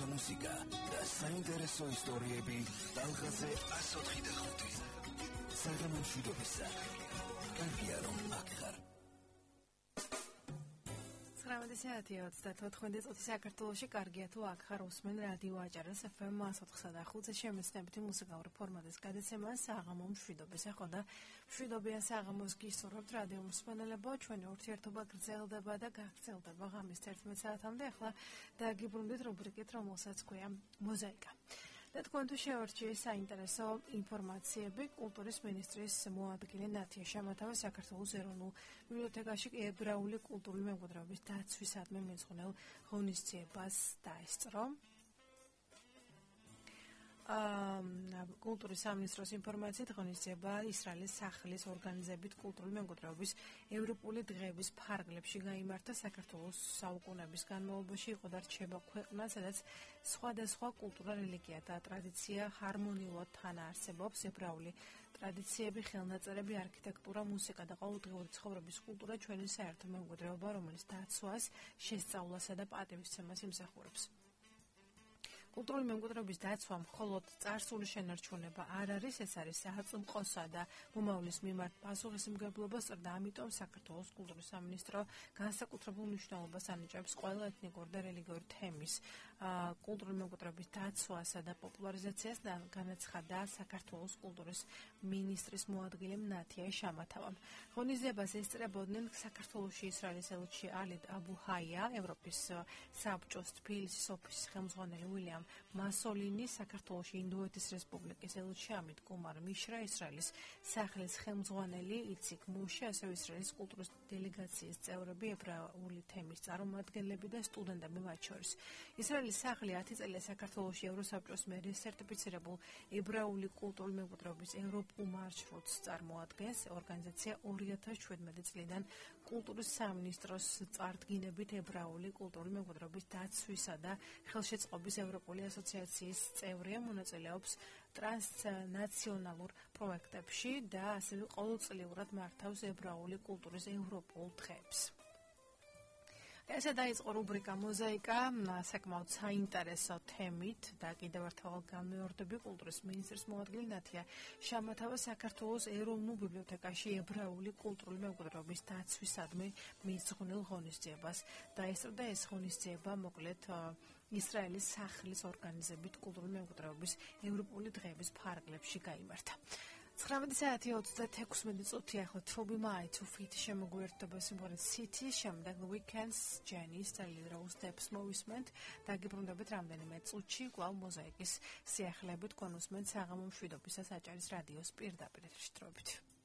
მუსიკა და საინტერესო ისტორიები ტალღაზე 104.5. საღამო მშვიდობისა. კარგია რომ აქ ხარ. 19:34 წუთი საქართველოში კარგია თუ აქ ხარ უსმენ რადიო აჭარას FM 104.5-ზე შემეცნებითი მუსიკალური ფორმატის გადაცემა საღამო მშვიდობისა. ხო და მშვიდობიან საღამოს გისურვებთ რადიო მსმენელებო, ჩვენი ურთიერთობა გრძელდება და გაგრძელდება ღამის 11 საათამდე. ახლა დაგიბრუნდით რუბრიკით, რომელსაც ქვია მოზაიკა. და თქვენთვის შევარჩიე საინტერესო ინფორმაციები კულტურის მინისტრის მოადგილე ნათია შამათავა საქართველოს ეროვნულ ბიბლიოთეკაში ებრაული კულტურული მემკვიდრეობის დაცვისადმი მიძღვნილ ღონისძიებას დაესწრო. კულტურის სამინისტროს ინფორმაციით ღონისძიება ისრაელის სახლის ორგანიზებით კულტურული მემკვიდრეობის ევროპული დღეების ფარგლებში გაიმართა. საქართველოს საუკუნეების განმავლობაში იყო და რჩება ქვეყნა, სადაც სხვადასხვა კულტურა, რელიგია და ტრადიცია ჰარმონიულად თანაარსებობს. ებრაული ტრადიციები, ხელნაწერები, არქიტექტურა, მუსიკა და ყოველდღიური ცხოვრების კულტურა ჩვენი საერთო მემკვიდრეობა, რომელიც დაცვას, შესწავლასა და პატივისცემას იმსახურებს. კულტურული მემკვიდრეობის დაცვა მხოლოდ წარსული შენარჩუნება არ არის, ეს არის საწმყოსა და მომავლის მიმართ პასუხისმგებლობა, და ამიტომ საქართველოს კულტურის სამინისტრო განსაკუთრებულ მნიშვნელობას ანიჭებს ყველა ეთნიკური და რელიგიური თემის კულტურული მემკვიდრეობის დაცვასა და პოპულარიზაციას, და განაცხადა საქართველოს კულტურის მინისტრის მოადგილე ნათია შამათავამ. ღონისძიებას ესწრებოდნენ საქართველოში ისრაელის ელჩი ალიდ აბუ-ჰაია, ევროპის საბჭოს თბილისის ოფისის ხელმძღვანელი უილიამ მასოლინი, საქართველოში ინდოეთის რესპუბლიკის ელჩი ამით კუმარ მიშრა, ისრაელის სახლის ხელმძღვანელი იციქ მუშე, ასევე ისრაელის კულტურის დელეგაციის წევრები, ებრაული თემის წარმომადგენლები და სტუდენტები მათ შორის. ისრაელის სახლი 10 წელია საქართველოში ევროსაბჭოს მიერ სერტიფიცირებულ ებრაული კულტურული მემკვიდრეობის ევროპულ მარშრუტს წარმოადგენს. ორგანიზაცია 2017 წლიდან კულტურის სამინისტროს წარდგინებით ებრაული კულტურული მემკვიდრეობის დაცვისა და ხელშეწყობის ევროპული ასოციაციის წევრია, მონაწილეობს ტრანსნაციონალურ პროექტებში და ასევე ყოველწლიურად მართავს ებრაული კულტურის ევროპულ დღეებს. ესე დაიწყო რუბრიკა მოზაიკა საკმაოდ საინტერესო თემით და კიდევ ერთხელ განმეორდები კულტურის მინისტრის მოადგილე ნათია შამათავა საქართველოს ეროვნულ ბიბლიოთეკაში ებრაული კულტურული მემკვიდრეობის დაცვისადმი მიძღვნილ ღონისძიებას დაესწრო და ეს ღონისძიება მოკლედ ისრაელის სახლის ორგანიზებით კულტურული მემკვიდრეობის ევროპული დღეების ფარგლებში გაიმართა. 19:36 წუთი ახლა Toby Mai to Feet შემოგვიერთდება სიმღერა City, შემდეგ Weekends, Janis და Lil Rose Steps მოვისმენთ. დაგიბრუნდებით რამდენიმე წუთში კვლავ მოზაიკის სიახლეებით, თქვენ უსმენთ საღამო მშვიდობისას აჭარის რადიოს პირდაპირ ეთერში.